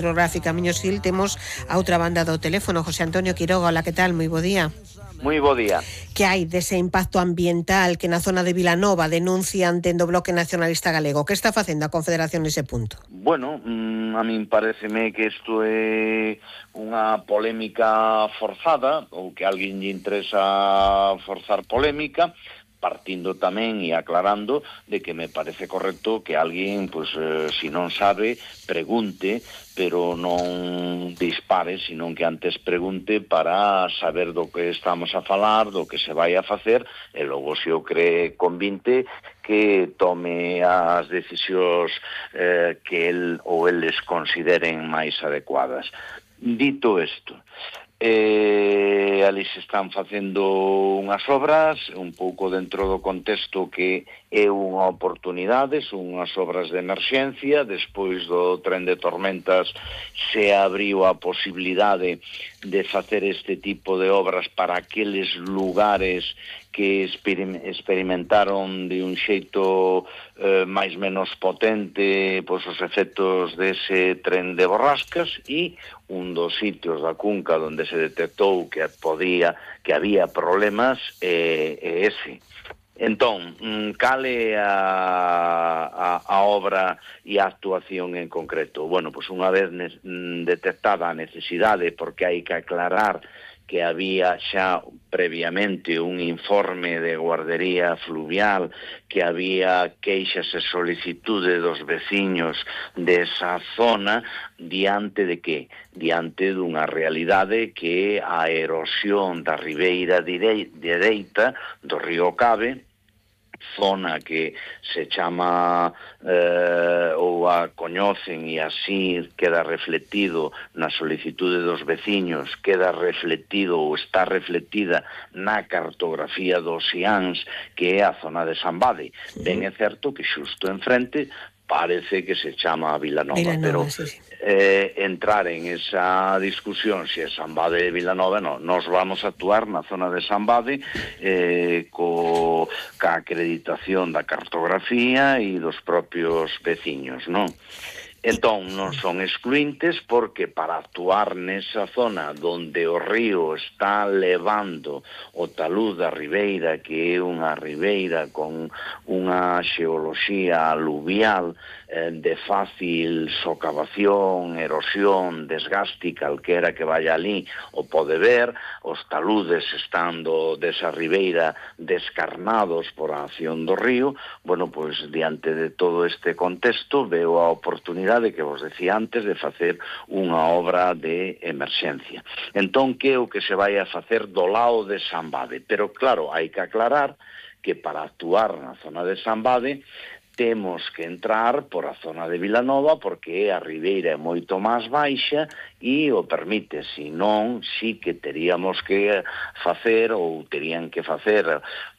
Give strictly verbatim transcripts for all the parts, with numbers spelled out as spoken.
hidrográfica Miños Gil temos a outra banda do teléfono, José Antonio Quiroga. Hola, que tal? Moi bo día. Moi bo día. Que hai dese impacto ambiental que na zona de Vilanova denuncian dende o Bloque Nacionalista Galego? Que está facendo a Confederación nese punto? Bueno, mmm, a min pareceme que isto é unha polémica forzada, ou que a alguén lle interesa forzar polémica, partindo tamén e aclarando de que me parece correcto que alguén, pois, eh, se non sabe, pregunte, pero non dispare, sino que antes pregunte para saber do que estamos a falar, do que se vai a facer, e logo, se o cree convinte, que tome as decisións eh, que el ou eles consideren máis adecuadas. Dito isto, Eh, ali se están facendo unhas obras un pouco dentro do contexto que é unha oportunidade, son unhas obras de emerxencia. Despois do tren de tormentas se abriu a posibilidade de facer este tipo de obras para aqueles lugares que experimentaron de un xeito eh, máis menos potente pois, os efectos dese tren de borrascas, e un dos sitios da cunca onde se detectou que podía, que había problemas é, é ese. Entón, cal é a, a, a obra e a actuación en concreto? Bueno, pois unha vez ne, detectada a necesidade, porque hai que aclarar que había xa previamente un informe de guardería fluvial, que había queixas e solicitude dos veciños desa zona, diante de que? Diante dunha realidade que a erosión da ribeira dereita do río Cabe, zona que se chama eh, ou a coñecen e así queda reflectido na solicitude dos veciños, queda reflectido ou está reflectida na cartografía dos Xiáns, que é a zona de Sambade. Ben é certo que xusto enfrente parece que se chama Vilanova, Vilanova, pero sí, sí. Eh, entrar en esa discusión se é Sambade de Vilanova, no, nos vamos a actuar na zona de Sambade eh, co, ca acreditación da cartografía e dos propios veciños, non? Entón, non son excluintes, porque para actuar nesa zona donde o río está levando o talud da ribeira, que é unha ribeira con unha xeoloxía aluvial eh, de fácil socavación, erosión, desgaste, calquera que vaya ali o pode ver, os taludes estando desa ribeira descarnados por a acción do río. Bueno, pois, diante de todo este contexto, veo a oportunidade de que vos decía antes de facer unha obra de emerxencia. Entón, que é o que se vai a facer do lado de Sambade? Pero, claro, hai que aclarar que para actuar na zona de Sambade temos que entrar por a zona de Vilanova, porque a ribeira é moito máis baixa e o permite. Se non, sí que teríamos que facer, ou terían que facer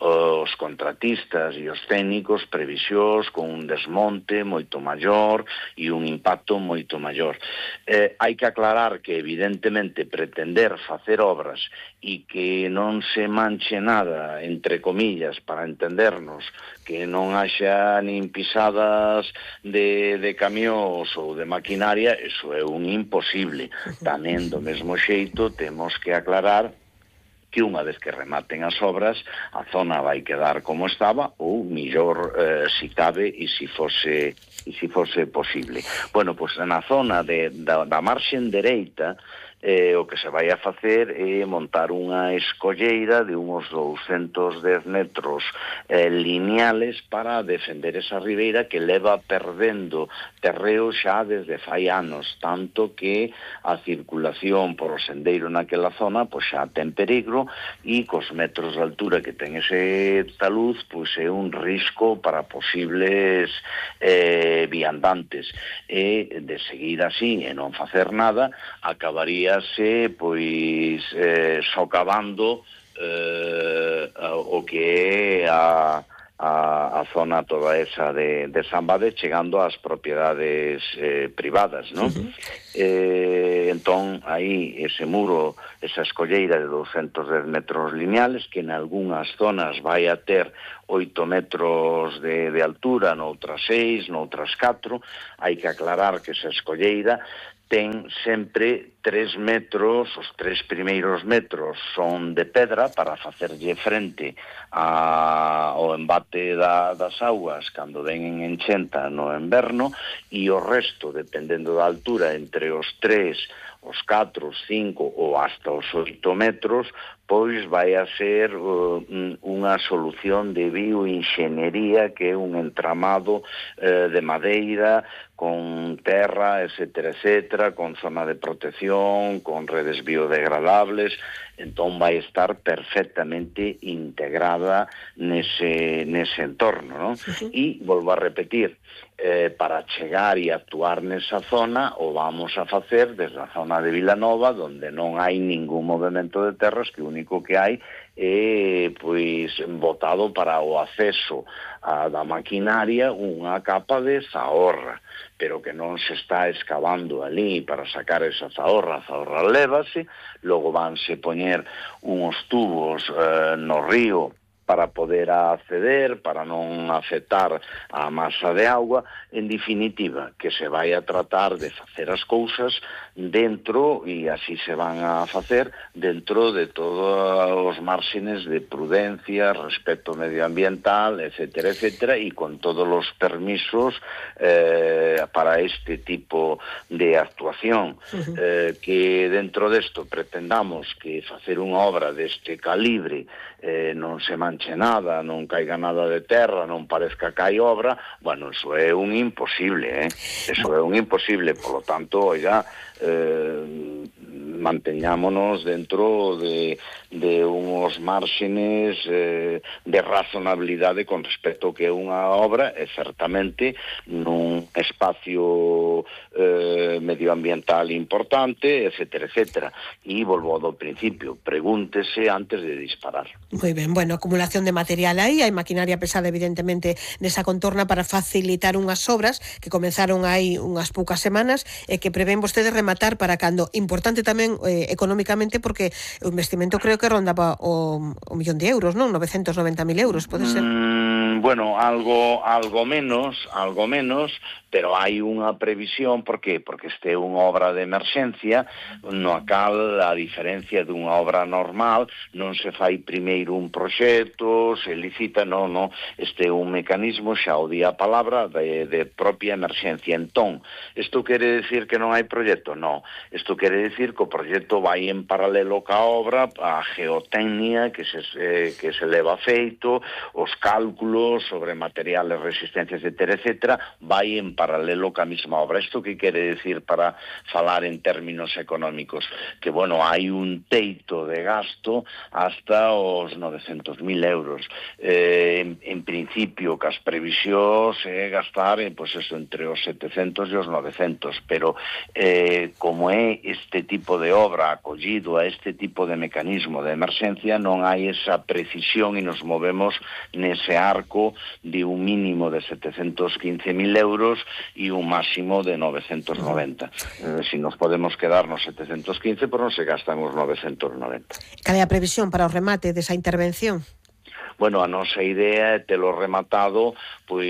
os contratistas e os técnicos previsións con un desmonte moito maior e un impacto moito maior. Eh, hai que aclarar que, evidentemente, pretender facer obras e que non se manche nada, entre comillas, para entendernos, que non haxa nin pisadas de, de camións ou de maquinaria, eso é un imposible. Tamén, do mesmo xeito, temos que aclarar que unha vez que rematen as obras, a zona vai quedar como estaba, ou millor, eh, si cabe, e si fose e si fose posible. Bueno, pois na zona de, da, da marxen dereita, eh, o que se vai a facer é montar unha escolleira de uns douscentos dez metros eh, lineales para defender esa ribeira que leva perdendo terreo xa desde fai anos, tanto que a circulación por o sendeiro naquela zona pois xa ten perigo, e cos metros de altura que ten ese taluz, pois é un risco para posibles eh, viandantes, e de seguir así e non facer nada, acabaría se pois eh, socavando eh, o que é a, a, a zona toda esa de, de Sambade, chegando ás propiedades eh, privadas, non? Uh-huh. Eh, entón, aí, ese muro, esa escolleira de douscentos dez metros lineales, que en algunhas zonas vai a ter oito metros de, de altura, noutras seis, noutras catro, hai que aclarar que esa escolleira ten sempre tres metros, os tres primeiros metros son de pedra para facerlle frente a, ao embate da, das augas cando ven en enchenta no inverno, e o resto, dependendo da altura, entre os tres, os catro, os cinco ou hasta os oito metros, pois vai a ser uh, unha solución de bioinxeniería, que é un entramado uh, de madeira con terra, etcétera, etcétera, con zona de protección, con redes biodegradables. Entón vai estar perfectamente integrada nese, nese entorno, non? Uh-huh. E volvo a repetir, eh, para chegar e actuar nesa zona o vamos a facer desde a zona de Vilanova, donde non hai ningún movimento de terras, que o único que hai é pois botado para o acceso a, da maquinaria unha capa de zaorra, pero que non se está excavando ali para sacar esa zaorra. A zaorra lévase, logo vanse poñer uns tubos eh, no río para poder acceder, para non afectar a masa de auga. En definitiva, que se vai a tratar de facer as cousas dentro, e así se van a facer, dentro de todos os márgenes de prudencia, respeto medioambiental, etcétera, etcétera, e con todos os permisos eh, para este tipo de actuación. Uh-huh. eh, que dentro desto pretendamos que facer unha obra deste calibre eh, non se manche nada, non caiga nada de terra, non parezca que hai obra, bueno, eso é un imposible, eh? Eso é un imposible, polo tanto, oiga, eh, manteñámonos dentro de, de uns márgenes eh, de razonabilidade con respecto que é unha obra, e certamente nun espacio eh, medioambiental importante, etcétera, etcétera. E volvo do principio, pregúntese antes de disparar. Moi ben, bueno, acumulación de material aí, hai maquinaria pesada evidentemente nesa contorna para facilitar unhas obras que comenzaron aí unhas poucas semanas e que prevén vostedes rematar para cando. Importante tamén eh, económicamente, porque o investimento creo que rondaba o, o millón de euros, non? novecentos noventa mil euros, pode ser? Mm, bueno, algo algo menos, algo menos, pero hai unha previsión. Por qué? Porque este é unha obra de emerxencia, no cal, a diferencia dunha obra normal, non se fai primeiro un proxecto, se licita, non, non, este é un mecanismo, xa o di a palabra, de, de propia emerxencia. Entón, isto quere decir que non hai proxecto? Non. Isto quere decir que o proxecto vai en paralelo ca obra, a geotecnia que se, eh, que se leva feito, os cálculos sobre materiales, resistencias, etcétera, etcétera, vai en paralelo ca mesma obra. Isto que quere decir, para falar en términos económicos? Que, bueno, hai un teito de gasto hasta os novecentos mil euros. Eh, en, en principio, que as previsións é gastar, eh, pues eso, entre os setecentos e os novecentos, pero eh, como é este tipo de obra acollido a este tipo de mecanismo de emerxencia, non hai esa precisión e nos movemos nese arco de un mínimo de setecentos quince mil euros e un máximo de novecentos noventa. Eh, si nos podemos quedar nos setecentos quince, pois non se gastan os novecentos noventa. Cal é a previsión para o remate desa intervención? Bueno, a nosa idea é telo rematado, pois